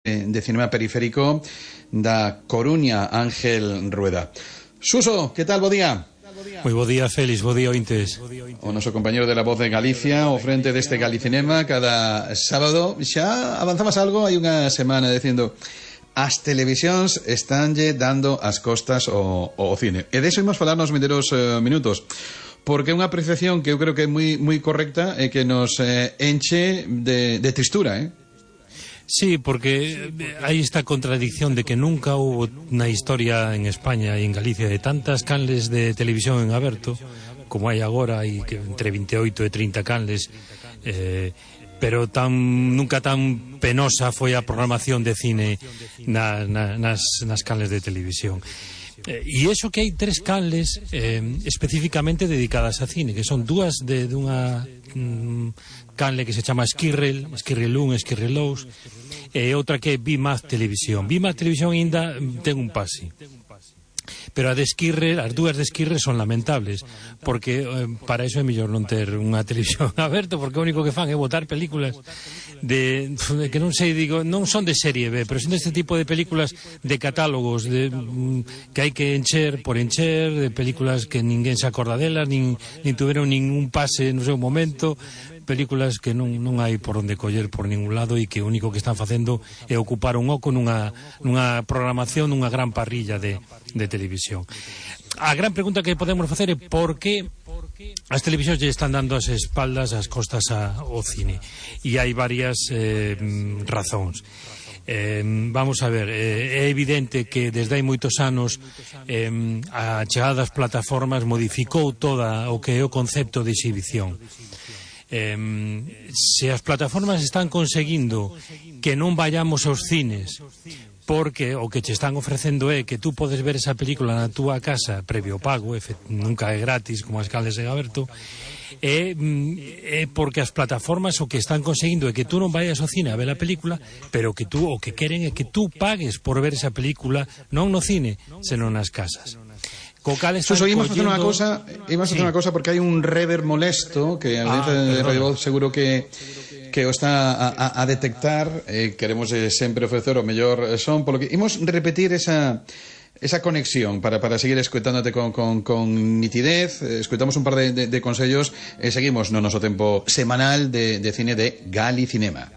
de Cinema Periférico da Coruña, Ángel Rueda. Suso, que tal, bo día? Moi bo día, Félix, bo día, ointes. O noso compañero de La Voz de Galicia, ao frente deste Galicinema cada sábado. Xa avanzamos algo, hai unha semana dicindo as televisións estánlle dando as costas ao cine. E deso imos falar nos vindeiros minutos, porque é unha apreciación que eu creo que é moi correcta e que nos enche de tristura, Sí, porque hai esta contradicción de que nunca hubo na historia en España e en Galicia de tantas canles de televisión en aberto como hai agora, hai entre 28 e 30 canles, pero nunca tan penosa foi a programación de cine nas canles de televisión. E iso que hai tres canles especificamente dedicadas a cine, que son dúas dunha canle que se chama Esquirrel 1, Esquirrel 2, e outra que é Bimaz Televisión. Bimaz Televisión ainda ten un pase, pero as dúas de Esquirrel son lamentables, porque para iso é mellor non ter unha televisión aberta, porque o único que fan é botar películas que non sei, digo, non son de serie B, pero son deste tipo de películas de catálogos que hai que encher por encher, de películas que ninguén se acorda delas, nin tuveron ningún pase no seu momento, películas que non hai por onde coller por ningún lado e que o único que están facendo é ocupar un oco nunha programación, nunha gran parrilla de televisión. A gran pregunta que podemos facer é por que as televisións lle están dando as espaldas, as costas ao cine, e hai varias razóns. Vamos a ver, é evidente que desde hai moitos anos a chegada das plataformas modificou toda o que é o concepto de exhibición. Se as plataformas están conseguindo que non vayamos aos cines porque o que che están ofrecendo é que tú podes ver esa película na túa casa previo pago, nunca é gratis como as canles en aberto, é porque as plataformas o que están conseguindo é que tú non vayas ao cine a ver a película, pero que tú o que queren é que tú pagues por ver esa película non no cine, senón nas casas. Suso, ímos a facer unha cosa porque hai un rever molesto que a veces Radio Voz seguro que o está a detectar. Queremos sempre ofrecer o mellor son, polo que imos repetir esa conexión para seguir escoitándote con nitidez. Escoitamos un par de consellos e seguimos no noso tempo semanal de cine de Galicinema.